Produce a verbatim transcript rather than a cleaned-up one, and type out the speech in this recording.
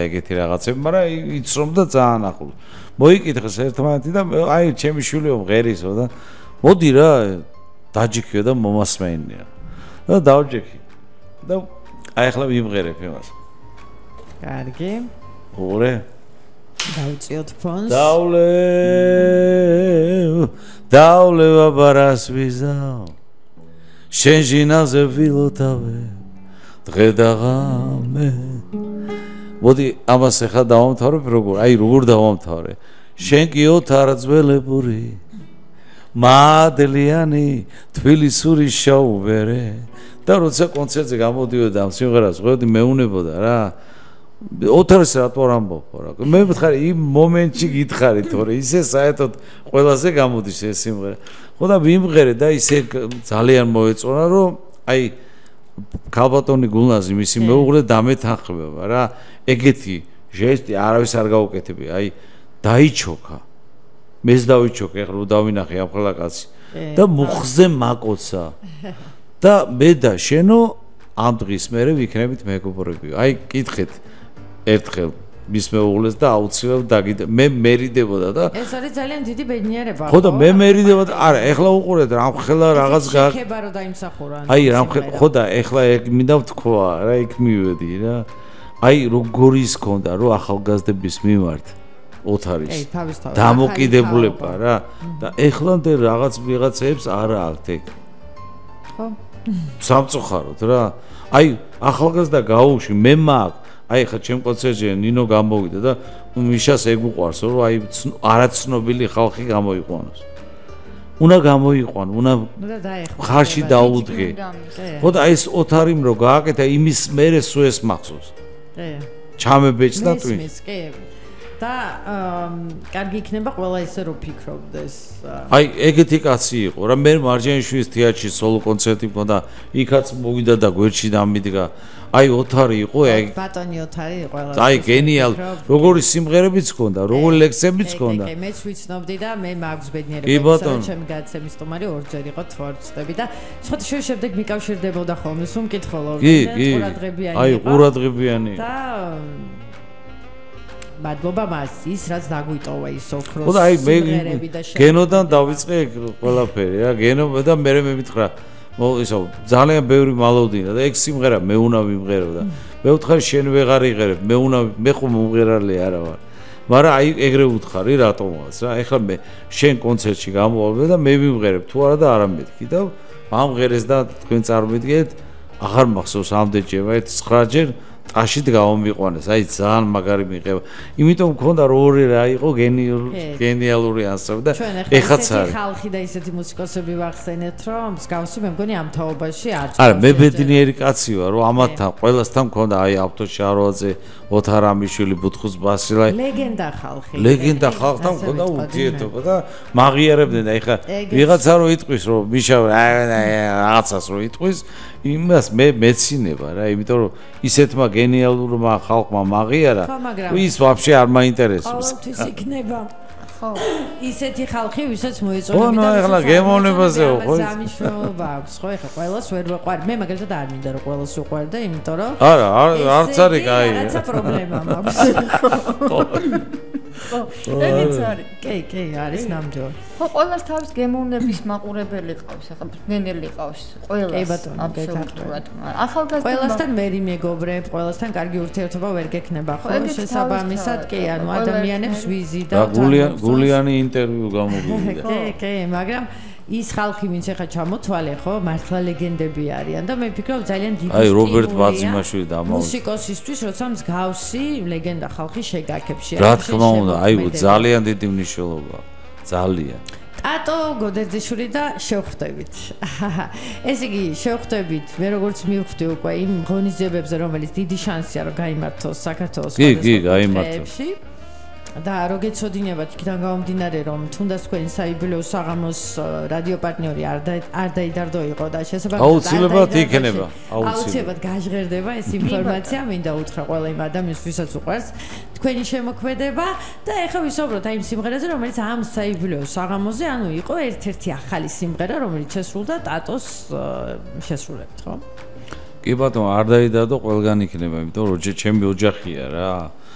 ეგეთი რაღაცები, მაგრამ იცრომდა ძალიან ახლოს. მოიკითხეს ერთმანეთი და აი ჩემი შვილი მღერისო და მოდი რა დაჯიქიო და მომასმენია. და დავჯექი. და აი ახლა მიმღერებ იმას. კარგი. ორე. დავწიოთ ფონს. დავლე დავლე ბაბარას ვიზაო. შენ ჟინაზე ვილოთავე. დღე და ღამე. მოდი ამას ახლა დავამთავრებ როგორ? აი როგორ დავამთავრე? შენ კი ოთარძველებური მადლიანი თბილისური შაუბერე და როცა კონცერტზე გამოდიოდა ამ სიმღერას ღვევდი მეუნებოდა რა ოთარს რატო არ ამბობ რა მე მითხარი იმ მომენტში გითხარი თორე ისე საერთოდ ყველაზე გამოდის ეს სიმღერა ხო და მიმღერე და ისე ძალიან მოეწონა რომ აი ქალბატონი გულნაზი მისი მეუღლე დამეთანხმება რა ეგეთი ჟესტი არავის არ გაუკეთებია აი დაიჩოქა მეც დავიჩოქე ახლა დავინახე ამ ხელა კაცი და მუხზე მაკოცა და მე და შენო ამ დღის მერე ვიქნებით მეგობრები აი კითხეთ ერთხელ მის მეუღლეს და აუცილებლად დაგიდე მე მერიდებოდა და ეს არის ძალიან დიდი ბედნიერება ხო და მე მერიდებოდა არა ეხლა უყურეთ რა ხელა რაღაც გაქება რომ დაიმსახურა აი რა ხო და ეხლა ეგ მინდა ვთქვა რა იქ მივედი რა აი როგორ ის ქონდა რომ ახალგაზრდების მიმართ ოთარის დამოკიდებულება რა და ეხლამდე რაღაც ვიღაცებს არა აქვთ ეგ ხო სამწუხაროდ რა აი ახალგაზრდა გაუში მე მაქვს აი ხა ჩემ კონცერტზე ნინო გამოვიდა და მიშას ეგ უყვარს რომ აი არაცნობილი ხალხი გამოიყვანოს უნდა გამოიყვანო უნდა ხარში დაუდგე ხო და აი ეს ოთარიმ რო გააკეთა იმის მერე სულ ეს მახსოვს კი ჩამებეჭ და ტვინს კი და კარგი იქნება ყველა ისე რომ ფიქრობდეს აი ეგეთი კაცი იყო რა მე მარჯანიშვილის თეატრში სოლო კონცერტი მქონდა იქაც მოვიდა და გვერდში დამიდგა აი ოთარი იყო აი ბატონი ოთარი იყო ყველა აი გენიალ როგორი სიმღერებიც ჰქონდა როგორი ლექსებიც ჰქონდა კი მეც ვიცნობდი და მე მაქვს ბედნიერება ჩემი გადაცემის სტუმარი ორჯერ იყო თვარწდები და სხვა შემდეგ მიკავშირდებოდა ხოლმე სულ მკითხველობდი ყურადღებიანი აი ყურადღებიანი და მადლობა მას ის რაც დაგვიტოვა ის ოქროს ხო და აი მე გენოდან დავიწყე ყველაფერი რა გენო და მე მე მითხრა ისო ძალიან ბევრი მალოვდინა და ეგ სიმღერა მე უნდა ვიმღერო და მე ვთხარი შენ ვეღარ იღერებ მე უნდა მე ხომ მომღერალი არა ვარ მაგრამ აი ეგრე ვთხარი რატომაც რა ეხლა მე შენ კონცერტში გამოვავდე და მე ვიმღერებ თუ არა და არა მეთქი და ამღერეს და თქვენ წარმოვიდგეთ აღარ მახსოვს ამდენჯერმე ცხრაჯერ აშით გამომიყვანეს აი ძალიან მაგარი მიყება იმიტომ მქონდა რომ ორი რა იყო გენიალური ანსამბლი და ეხაც არის ხალხი და ისეთი მუსიკოსები ვახსენეთ რომ მსგავსი მე მგონი ამ თაობაში არც არა მე ბედნიერი კაცი ვარ რომ ამათთან ყველასთან მქონდა აი ავტო შაროაძე ოთარამიშვილი ბუთხუს ბასილაი ლეგენდა ხალხი ლეგენდა ხალხთან მქონდა ურთიერთობა და მაღიარებდნენ და ეხლა ვიღაცა რო იტყვის რომ მიშა რაღაცას რო იტყვის იმას მე მეცინება რა იმიტომ რომ ისეთმა გენიალურმა ხალხმა მაღიარა ის ვაფშე არ მაინტერესებს ყოველთვის იქნება ხო ისეთი ხალხი ვისაც მოეწონებოდა ხო ნუ ეხლა გემოვნებაზე ხო ეს ამიშრობა აქვს ხო ეხლა ყველას ვერ ვეყვარ მე მაგალითად არ მინდა რომ ყველას უყვარ და იმიტომ რომ არა არც არის კაი რაცა პრობლემა მაქვს ხო ეგეც არის კი კი არის ნამდვილად ხო ყველას თავის გემოვნების მაყურებელი ყავს ახლა ბნელი ყავს ყველას აბსოლუტურად ახალგაზრდა ყველასთან მერი მეგობრებ ყველასთან კარგი ურთიერთობა ვერ გექნება ხო შესაბამისად კი ანუ ადამიანებს ვიზი და გულიანი ინტერვიუ გამოვიდა კი კი მაგრამ ის ხალხი ვინც ახლა ჩამოთვალე ხო მართლა ლეგენდები არიან და მე ვფიქრობ ძალიან დიდი აი რობერტ ბაძიმაშვილი და ამაუს მუსიკოსისთვის როცა მსგავსი ლეგენდა ხალხი შეგაქებში რა თქმა უნდა აი ძალიან დიდი მნიშვნელობა ძალიან ტატო გოდერძიშვილი და შევხვდებით ეს იგი შევხვდებით მე როგორც მივხვდი უკვე იმ ღონისძიებებზე რომელიც დიდი შანსია რომ გაიმართოს საქართველოს კი კი გაიმართოს და რო გეცოდინებათ იქიდან გამომდინარე რომ თუნდაც თქვენი საიუბილეო საღამოს რადიო პარტნიორი არ არ დაიდარდო იყო და შესაძლოა აუცილებლად იქნება აუცილებლად გაჟღერდება ეს ინფორმაცია მინდა უთხრა ყველა იმ ადამიანს ვისაც უყვარს თქვენი შემოქმედება და ეხლა ვისაუბროთ აი იმ სიმღერაზე რომელიც ამ საიუბილეო საღამოზე ანუ იყო ერთ-ერთი ახალი სიმღერა რომელიც შესრულდა ტატოს შესრულებით ხო კი ბატონო არ დაიდარდო ყველგან იქნება იმიტომ რომ ჩემი ოჯახია რა